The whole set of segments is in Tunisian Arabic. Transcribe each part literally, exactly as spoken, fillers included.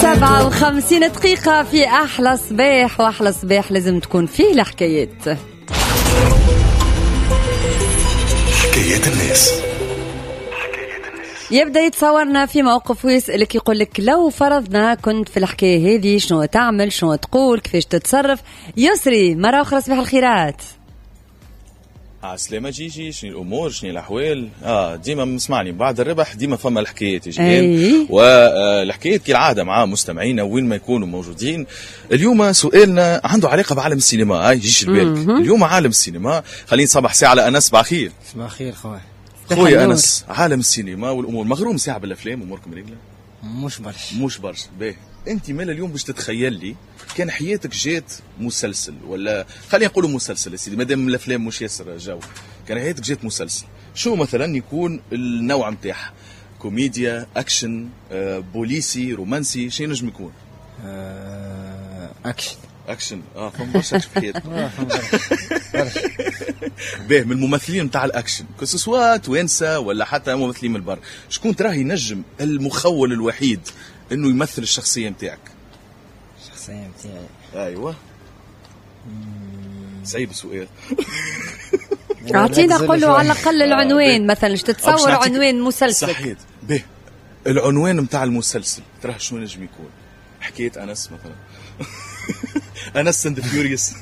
سبعة وخمسين دقيقة في أحلى صباح، وأحلى صباح لازم تكون فيه الحكايات. حكايات الناس. يبدأ يتصورنا في موقف ويسألك، يقول لك لو فرضنا كنت في الحكاية هذه شنو تعمل، شنو تقول، كيفاش تتصرف. يسري مرة أخرى صباح الخيرات. عسلامة جيجي، شنو الامور، شنو الاحوال؟ اه ديما مسمعني بعد الربح ديما فما الحكايات يجي، والحكايات كالعادة مع مستمعينا وين ما يكونوا موجودين. اليوم سؤالنا عنده علاقة بعالم السينما. هاي يجيش البالك اليوم عالم السينما. خلينا نصبح ساعة على انس. صباح الخير. صباح الخير خويا. خويا انس، عالم السينما والامور مغروم ساعة بالافلام، اموركم رجله؟ مش برشا. مش برشا. باهي، انت مال اليوم باش تتخيل لي كان حياتك جات مسلسل، ولا خلينا نقولوا مسلسل يا سيدي مادام الافلام مش ياسر جو، كان حياتك جات مسلسل شو مثلا يكون النوع نتاعها؟ كوميديا، اكشن، آه، بوليسي، رومانسي، شنو نجم يكون؟ آه، اكشن. اكشن، اه فما برشا اكشن في حياتك. باهي، من الممثلين نتاع الاكشن que ce soit توانسة ولا حتى ممثلين من البر، شكون تراه ينجم المخول الوحيد انه يمثل الشخصية نتاعك؟ الشخصية نتاعي؟ ايوه. صعيب السؤال. اعطينا قول له على الاقل العنوان مثلا، اش تتصور عنوان مسلسل؟ صحيت. باهي، العنوان نتاع المسلسل تراه شنو نجم يكون؟ حكاية انس مثلا. انس and Furious.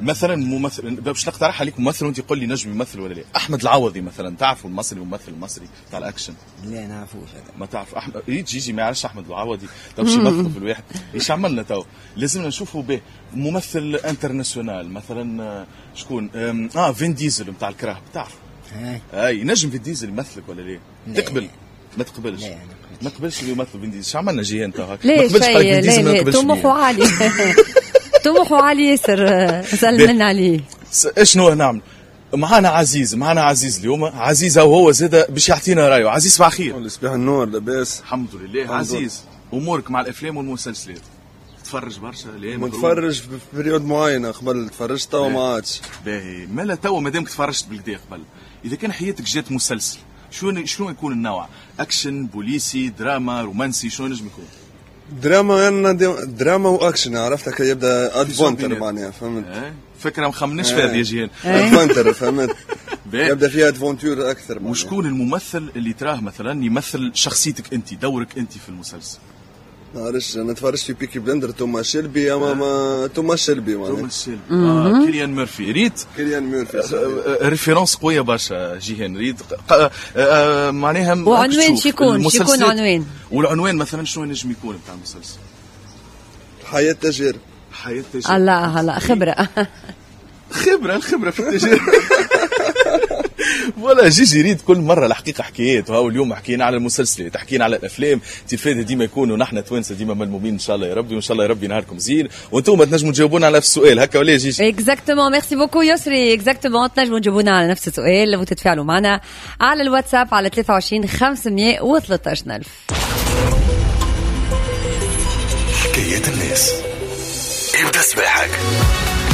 مثلا ممثل باش نقترح عليك ممثل وانت قول لي نجم يمثل ولا لا. احمد العوضي مثلا، تعرفوا المصري، الممثل المصري تاع الاكشن؟ لا نعرفوش هذا. ما تعرف احمد؟ إيه جيجي ما يعرفش احمد العوضي. طب شو يمثل في الواحد؟ ايش عملنا تو؟ لازمنا نشوفوا به ممثل international مثلا. شكون؟ اه فين ديزل نتاع الكراهب، تعرف؟ اي نجم فين ديزل يمثلك ولا لا؟ تقبل؟ ما تقبلش. ما تقبلش اللي يمثل فين ديزل. شو عملنا جي انت هكا؟ ما تقبلش فين ديزل، ما تقبلش. طموحه عالي. طموحه عالي ياسر، سلمنا عليه. شنو نعمل؟ معانا عزيز، معانا عزيز اليوم. عزيز وهو زاد باش يعطينا رايه. عزيز صباح الخير. صباح النور، لاباس؟ الحمد لله. عزيز، امورك مع الافلام والمسلسلات؟ تفرج برشا؟ لا نتفرج في période معينة، قبل تفرجت توا ما عادش. باهي، مالا توا مادامك تفرجت بالكدا قبل، اذا كان حياتك جات مسلسل شنو شنو يكون النوع؟ اكشن، بوليسي، دراما، رومانسي، شنو نجم يكون؟ دراما، يعني دراما واكشن، عرفتك يبدا adventure معناها، فهمت؟ فكرة ما خمناش فيها يا جيهان. adventure، فهمت؟ يبدا فيها aventure اكثر. وشكون الممثل اللي تراه مثلا يمثل شخصيتك انت، دورك انت في المسلسل؟ نعرفش، انا تفرجت في Peaky Blinders، توماس شيلبي، اما ما توماس شيلبي معناها. توماس شيلبي، آه. كيليان ميرفي، ريت؟ كيليان ميرفي référence قوية برشا جيهان، ريت؟ آه معناها. وعنوان شيكون؟ شيكون عنوان؟ والعنوان مثلا شنو نجم يكون بتاع المسلسل؟ حياة تاجر. حياة تاجر. الله الله، خبره. خبره، الخبرة في التجارة. voilà جيجي ريت كل مرة الحقيقة حكايات. وهاو اليوم حكينا على المسلسلات، حكينا على الافلام، تفاده ديما يكونوا نحن توانسة ديما ملمومين ان شاء الله يا ربي، وان شاء الله يا ربي نهاركم زين، وانتم تنجموا تجاوبونا على نفس السؤال هكا ولا جيجي؟ exactement، merci beaucoup يسري. exactement، تنجموا تجاوبونا على نفس السؤال وتتفاعلوا معنا على الواتساب على ثلاثة وعشرين خمسمية وثلاثة عشر ألف. حكايات الناس، ابدا صباحك.